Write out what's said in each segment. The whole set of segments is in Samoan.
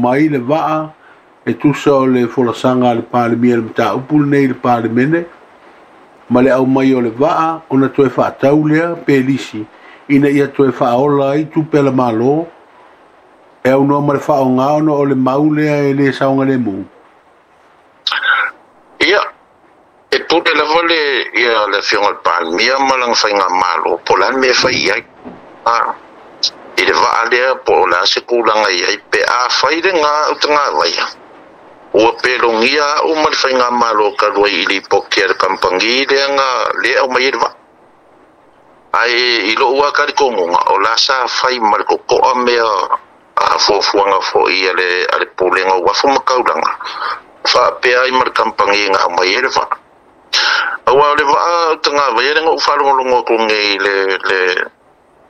aumai le vaa e tusa o le folasaga a le Palemia i le mataupu lenei i le Palemene ma le aumai o le vaa ona toe faatau lea pe lisi ina ia toe faaola ai tupe a le Malo e aunoa ma le faaaoga ona o le mau lea e le saogalemu. Ia, e pule lava le ia le Afioga i le Palemia ma lana faigamalo po o le a le mea e fai i ai. A, i le vaa lea po o le a se tulaga e i ai pe afai lena utagavaia ua pelogia a'u ma le faigamalo talu ai i lipoti a le kamupani lea na lea e aumai ai le vaa. Ae i lo'u lava talitonuga o la sa fai ma le toto'a mea a fuafuaga foi a le a le Pulega o Uafu ma Taulaga faapea ai ma le kamupani na aumai ai le vaa. Aua o le vaa utagavaia lea na ou faalogologo atu nei i le le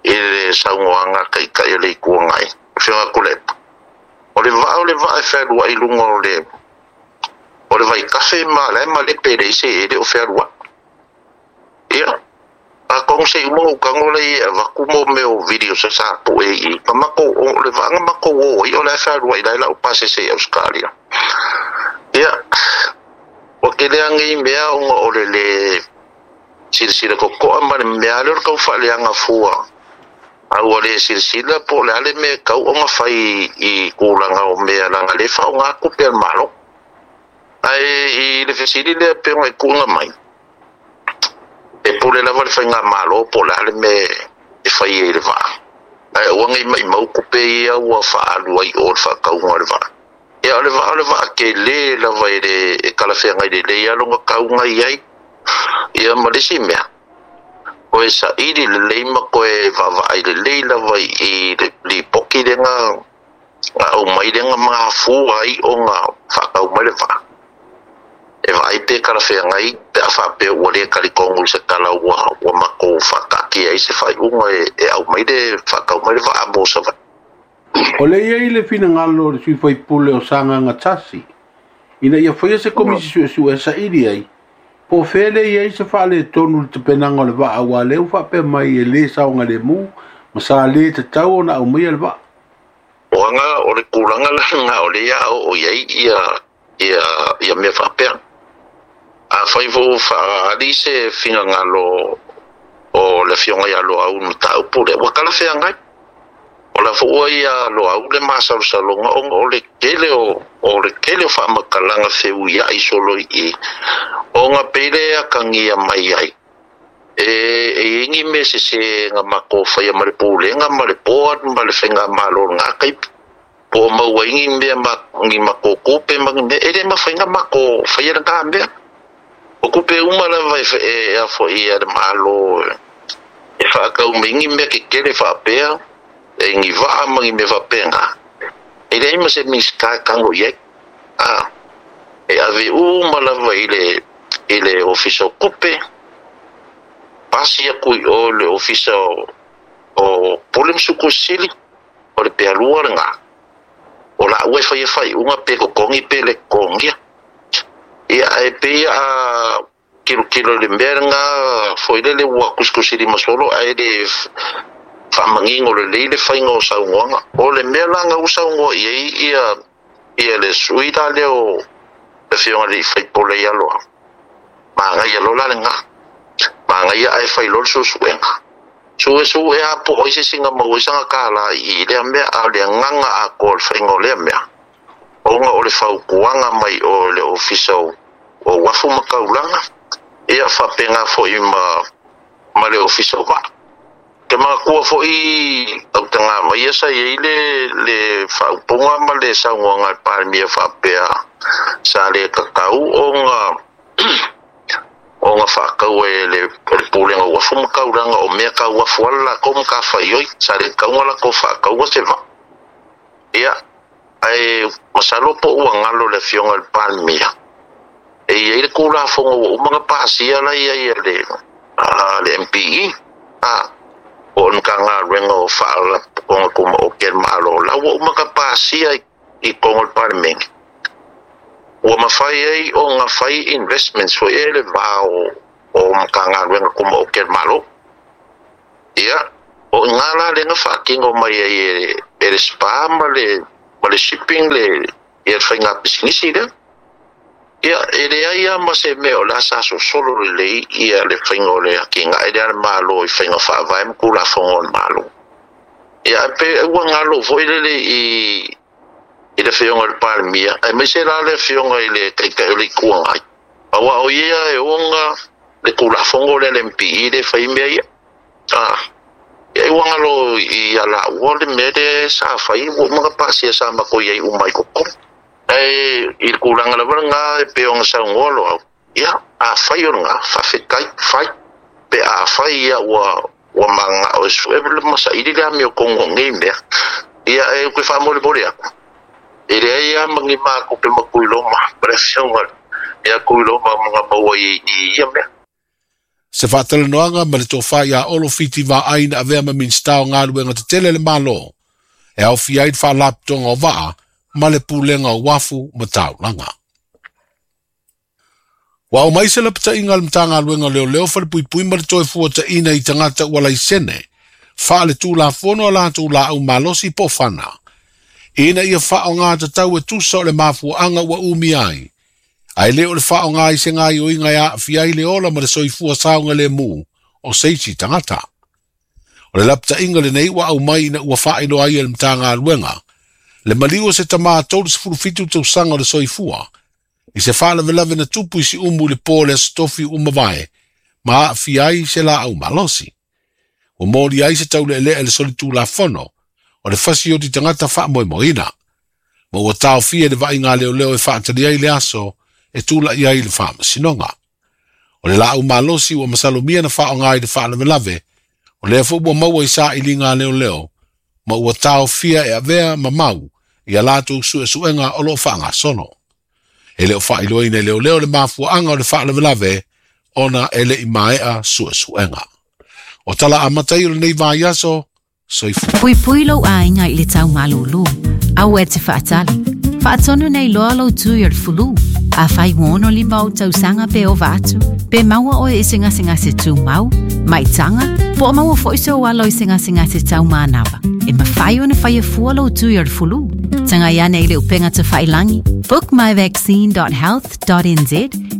i le saunoaga a le Taitai o le Itu Agai, Afioga Tuilaepa, o le vaa o le vaa e fealuai i luga o le o le vaitafe ma la e malepe e leai se e le o fealuai. Ia, atonu se i uma ona ou tago lea e avatu mo mea o video sa pue i na matou o le vaa na matou o ai o la e fealuai la e lau pasese i Ausetalia. Ia, ua tele lava nei mea ona o le lē silasila totoa ma le mea lea o le tau faaleaga fua a ua le silasila po o le a le mea e tau ona fai i tulaga o mea leaga lea e faaaoga tupe a le Malo. Ae i le fesili lea pei ona e tuuina mai, e pule lava le faigamalo po o le a le mea e fai ai i le vaa, ae aua ne i maumau tupe ia ua faaalu ai i o i le faatauga o le vaa. Ia o le vaa o le vaa tele lava e le e talafeagai lelei lava lona tauga i ai. Ia ma le isi mea, toe saili lelei ma toe vaavaai lelei lava i le lipoti lea na aumai lea na mafua ai ona faatau mai le vaa. E vaai pe talafeagai pe a faapea ua le talitonu i se tala ua ua matou faataatia ai se faaiuga e aumai le faatau mai le vaa mo Savaii. O lea e i ai le finagalo o le sui usufono o Sagaga 1 ina ia faia se komisi suesue e saili ai po o fea lea e i ai se faaletonu i le tapenaga o le vaa aua o lea ua faapea mai e le saogalemu ma sa le tatau ona aumaia le vaa. O aga o le tulaga la lena o lea a oo i ai ia ia ia mea faapea. Afai foi ua faaali se finagalo o le Afioga ia Loau i le mataupu lea, ua talafeagai. O la foi ua ia Loau le masalosaloga ona o le tele o o le tele o faamatalaga feuiai solo i i, ona pei lea e atagia mai ai e e i ai ni mea sese na matou faia ma le Pulega ma le Board ma le Faigamalo o lena taimi. Po o maua ai ni mea ma ni matou tupe ma ni mea, e le mafai ona matou faia lena mea. O tupe uma lava e e a foi a le Malo e faatau mai ni mea tetele faapea, e ni vaa ma ni mea faapena, e leai ma se Minisita e tago i ai. A, e ave uma lava i le i le Ofisa o Tupe, pasi atu i o i le Ofisa o o Pule ma Sukusili, o le pealua lena. O laua e faia faaiuga pe totogi pe le totogia. Ia, ae pei a tilotilo i le mea lena foi lele ua tusitusilima solo ae le faamanino lelei le faiga o saunoaga. O le mea la na ua saunoa i ai ia ia le sui la lea o le Afioga i le sui usufono ia Loau, manaia loa la lena. Manaia ae fai loa le suesuega. Suesue lava po o ai se isi na maua ai sana kālā i lea mea, a o le agaga atoa o le faiga o lea mea, ona o le fautuaga mai o le Ofisa o Uafu ma Taulaga, ia faapena foi ma ma le Ofisa o Vaa. Ke manatua foi autagavaia sa i ai le le faaupuga ma le saunoaga a le Palemia faapea sa le tatau ona ona faataua e le Pulega o Uafu ma Taulaga o mea tau uafu lava le latou matafaioi, sa le tatau ona latou faataua se vaa. Ia, ae masalo po ua galo le Afioga i le Palemia, e i ai le Tulafono ua uma ona pasia la e i ai a le a le MPE, a, po o le Matagaluega o Faalapotopotoga Tumaoti a le Malo, la ua uma ona pasia i totonu o le Palemene, ua mafai ai ona fai investments foi ia i le va o Matagaluega Tumaoti a le Malo. Ia, o i ina la lea na faatino mai ai e le SPA ma le ma le shipping le ia le faiga pisinisi lea. Ia, e leai lava ma se mea o le a sa sosolo lelei ia le faiga o le atinae lea a le Malo i faiga faavae ma Tulafono a le Malo. Ia, ae pe ua galo foi lele i i le Afioga i le Palemia, aemaise la le Afioga i le Taitai o le Itu Agai, aua o ia e ona le Tulafono lea a le MPE lea e fai ai mea ia. A, ia ua galo ia laua le mea lea sa fai, ua uma ona pasia sa matou i ai uma i totonu. Ae i le tulaga lava lena e pei ona saunoa Loau, ia, afai o lena, faafetai, fai. Pe afai ia ua ua mananao e sue ma saili le amiotonu o nei mea, ia e ou te faamolemole atu, e leai lava ma ni matupe ma Tuiloma ma le Afioga ia Tuiloma ma na maua i ia mea. Se faatalanoaga ma le tofa ia Olo Fiti Vaai na avea ma Minisita o Galuega Tetele a le Malo, e aofia ai le Faalapotopotoga o Vaa ma le Pulega o Uafu ma Taulaga. Ua aumai se lapataiga a le Matagaluega o Leoleo, Falepuipui ma le Toefuataiina i tagata ua laisene faaletulafono a latou laau malosi po o fana, ina ia faaaoga tatau e tusa o le mafuaaga ua umia ai, ae le o le faaaoga i se gaoioiga e aafia ai le ola ma le soifua saogalemu o se isi tagata. O le lapataiga lenei ua aumai ina ua faailoa ai e le Matagaluega le maliu o se tama 37 tausaga o le soifua i se faalavelave na tupu i Siumu i le po o le Aso Tofi ua mavae ma aafia ai se laau malosi. Ua molia ai se tauleelea i le solitulafono o le fasioti tagata faamoemoeina, ma ua taofia i le vaaiga a leoleo e faatali ai le aso e tulai ai i le faamasinoga. O le laau malosi ua masalomia na faaaoga i le faalavelave, o lea foi ua maua i sailiga a leoleo, ma ua taofia e avea ma mau i a latou suesuega o lo o faagasolo. E le o faailoaina e leoleo le mafuaaga o le faalavelave ona e le i maea suesuega. O tala amata ia o lenei vaiaso, soifua. Puipui lou aiga i le tau malūlū. Aua e te faatali. Faatonu nei loa lou tui o le fulu. Afai ua 65 ou tausaga pe ova atu, pe maua oe i se gasegase tumau, maitaga, po o maua foi sou alo i se gasegase tau manava, e mafai ona faia fua lou tui o le fulu. Tagai ane i le upega tafailangi bookmyvaccine.health.nz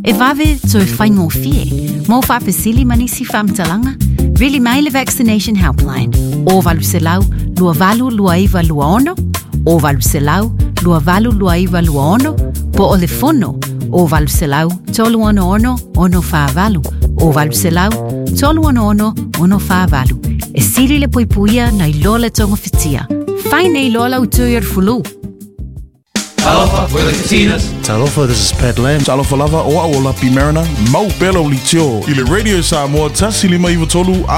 e vave toe faigofie. Mo faafesili ma nisi faamatalaga, vili mai le Vaccination Helpline o 800 282926 o 800 282926 po o le fono o 800 366 648 o 800 366 648. E sili le puipuia nai lo le togafitia. Fai nei loa lau tui o le fulu. Talofa, we're the Katinas. Talofa, this is Pat Lam. Talofa lava, o au o Lapi Mariner, mau pea lau leitio i le Radio Samoa 1 5 9 3.